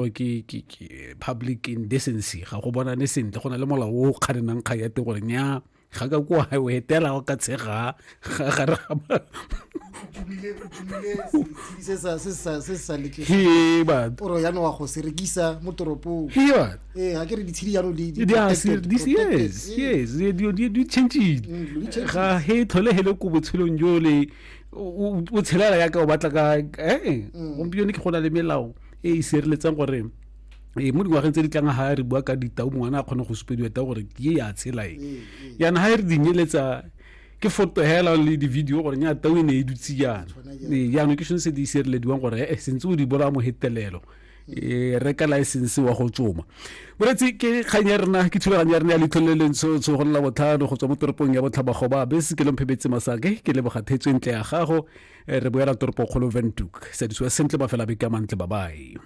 Ke ke ke public indecency, ga go bonane sentle. Go na le molao o o kganenang kgang ya teng gore nya ga ka kwa o etela o ka tshega ga gare ga se sa se sa se sa letle he batho oro jaanong wa go se rekisa mo toropong. He batho. Ee, ga ke re ditshedi jaanong di di a se this protected. Yes. Yes, di changile. Dilo di changile. Ga he tlhole hele ko botshelong jole o tshelela yaka o batla ka gompieno ke go na le melao e e sireletsang gore ee mo dingwageng tse di tlang ga re bua ka ditau, ngwana a kgone go supediwa tau gore ke e ya tshela e. Yana ga e re dinyeletsa ke foto hela le di-video gore nya tau e ne e dutse jaana. Ee, jaanong ke sone se di sirelediwang gore e sentse o di bolaya mohetelelo e reka license wa go tsoma. Moretsi, ke kgang ya rena, ke thulaganyo ya rena ya Leitlho le Lentsho go lela botlhano go tswa mo toropong ya Botlhabagoba bese. Ke lomphebetse masake, ke leboga thetso e ntle ya gago. Re boela toropokgolo Ventuk. Sadisiwa sentle, mafela beke a mantle, babae.